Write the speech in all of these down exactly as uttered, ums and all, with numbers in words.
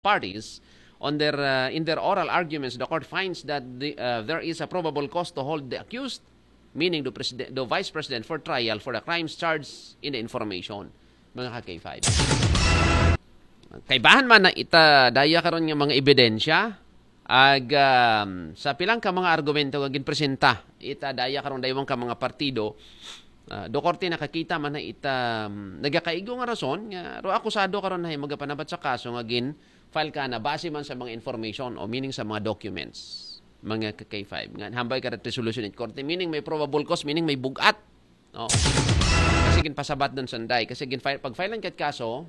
parties on their uh, in their oral arguments, the court finds that the, uh, there is a probable cause to hold the accused, meaning the, president, the vice president, for trial for the crimes charged in the information. Mga ka-K five. Kaibahan man na ita daya karon nga mga ebidensya, ag um, sa pilang ka mga argumento nga ginpresenta ita daya karon daywang ka mga partido, uh, do korte nakakita man na ita um, nagakaigo nga rason nga ro akusado karon hay magapanabat sa kaso nga gin file ka na base man sa mga information o meaning sa mga documents, mga ka-K five. Nga hambay ka resolution in korte, meaning may probable cause, meaning may bugat. No? Kasi ginpasabat doon sanday. Kasi gin file, pag file ka kaso,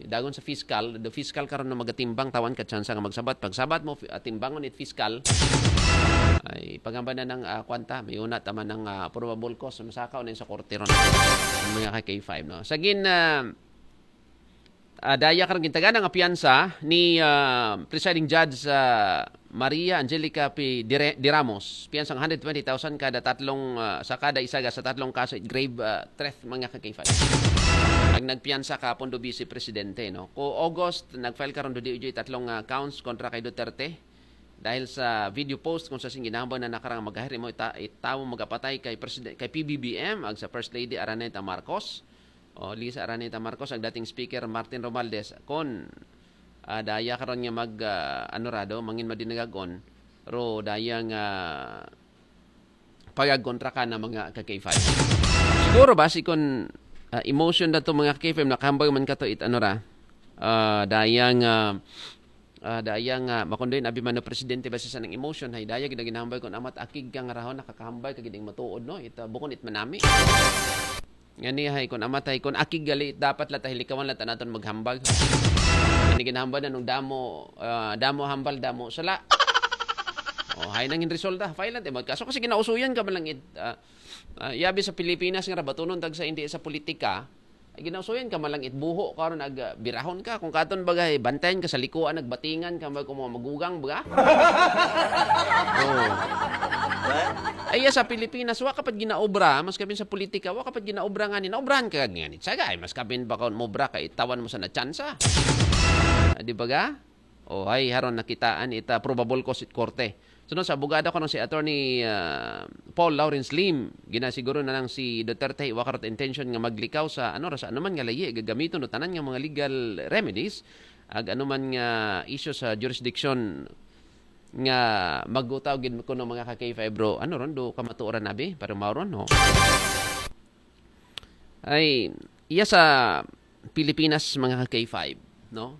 dagon sa fiscal, the fiscal karon na magatimbang tawan ka tsansa nga magsabat. Pagsabat mo, timbangon it fiscal, ay pagamba na ng uh, kwanta, may una tama ng uh, probable cause, masakaw na sa korte ron. Mga ka-K five, no? Sa gin, uh, uh, daya karang gintagan ang apiyansa ni uh, Presiding Judge uh, Maria Angelica P. Dire, Diramos, piyansa nga one hundred twenty thousand kada tatlong uh, sa kada isa sa tatlong kaso it grave uh, threat, mga ka-K five. Ang nagpiyansa ka pondo Vice Presidente, no? Ko August nag-file karon do D O J tatlong uh, counts kontra kay Duterte dahil sa video post kung sa sing ginahambal na nakarang magahir mo ita, itawo magapatay kay president kay P B B M ag sa First Lady Araneta Marcos. O Lisa Araneta Marcos, ang dating speaker Martin Romualdez kon uh, daya karon nga mag uh, ano rado mangin madinagagon ro daya nga pagagontra ka na mga ka-K five. Siguro ba si kon uh, emotion na to mga ka-K five nakahambay man ka to it ano ra uh, daya nga uh, daya nga makundoy na abimano presidente base sa nang emotion hay daya ginaginahambay kon amat akig ka nga rahon nakakahambay ka giding matuod no ita bukon it manami. Ngani hay kun amatay kun akig gali dapat la ta hilikawan la ta naton maghambal. Ani ginahambal na nung damo ah, damo hambal damo sala. Oh, hay nang resulta. File lang mo kaso kasi ginausuyan ka man lang it ah, ah, yabi sa Pilipinas nga rabatunon tag sa hindi sa politika. Ay, ginausuyan ka man lang it buho karon ag ah, birahon ka kung katon bagay bantayan ka sa likuan nagbatingan ka mag kung mga magugang baga. Oh. Ay, sa Pilipinas, wa ka pa ginaobra, mas kabin sa politika, wa ka pa ginaobra nga ni, naobrahan ka nga ni. Saga, ay, mas kabin ba ka mobra ka itawan mo sa na tsansa? Ah, di ba ga? O, ay, haron nakitaan ita probable cause it korte. Sunod sa abogado ko nang si Attorney ah, Paul Lawrence Lim, ginasiguro na lang si Duterte wa karot intention nga maglikaw sa ano ra sa anuman nga layi gagamiton o tanan nga mga legal remedies ag anuman nga isyu sa jurisdiction nga magutaw gid kuno mga ka K five bro. Ano ron do kamatuoran abi para mao ron no? Ay iya sa Pilipinas mga ka K five, no?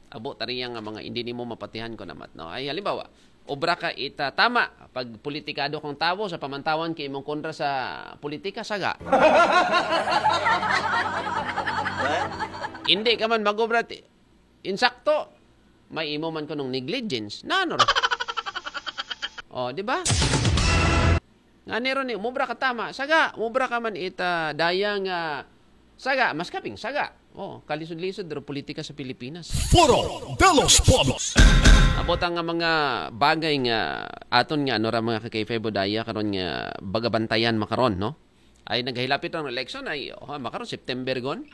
Abo tariya nga mga hindi nimo mapatihan ko namat, no? Ay halimbawa, obra ka ita tama pag politikado kang tawo sa pamantawan kay imong kontra sa politika saga. Hindi ka man magobra ti insakto, may imo man kunong negligence. Nano ra? Oh, di ba? Nga nero ni, mubra ka tama. Saga, mubra ka man ita daya nga saga, mas kaping saga. Oh, kalisod-lisod ro politika sa Pilipinas. Foro de los Pueblos. Abot ang nga mga bagay nga aton nga ano ra mga ka-K five daya karon nga bagabantayan makaron, no? Ay naghilapit ang election ay oh, makaron September gon.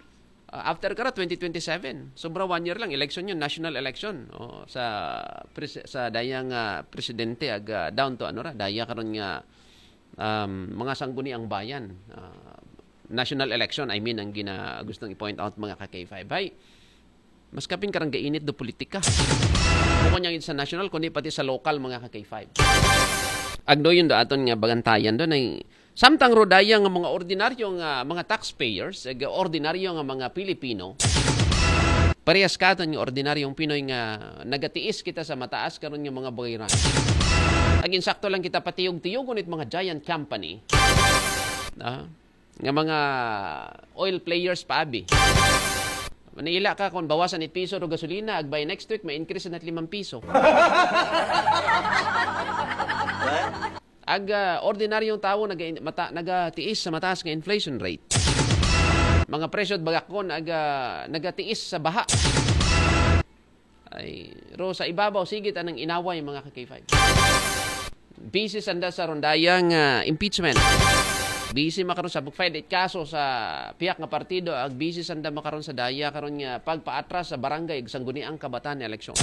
Uh, after kara twenty twenty-seven, sobra one year lang election yun, national election. Oh, sa pres- sa dayang uh, presidente ag uh, down to ano ra, daya karon nga um, mga sangguni ang bayan. Uh, national election, I mean, ang gina gustong i-point out mga ka K five. Hay, mas kapin karang gainit do politika. Bukon niya sa national, kundi pati sa local mga ka K five. Agdo yun do aton nga bagantayan do ay samtang rodaya nga mga ordinaryo nga mga taxpayers, ag ordinaryo nga mga Pilipino, parehas katon nga ordinaryong Pinoy nga nagatiis kita sa mataas karon nga mga bayaran. Ag insakto lang kita patiyog-tiyog ngunit mga giant company. Ah, nga mga oil players pa abi. Manila ka kung bawasan it piso ro gasolina, ag by next week may increase na limang piso. Ag ah, ordinaryong tawo naga, mata, nagatiis sa mataas nga inflation rate. Mga presyo bagakon ag ah, nagatiis sa baha. Ay, ro sa ibabaw sige tanang inaway mga ka K five. Busy sanda sa rondayang ah, impeachment. Busy makaron sa file it kaso sa pihak nga partido, ag busy sanda makaron sa daya karon nga pagpaatras sa barangay ug sangguniang kabataan nga eleksyon.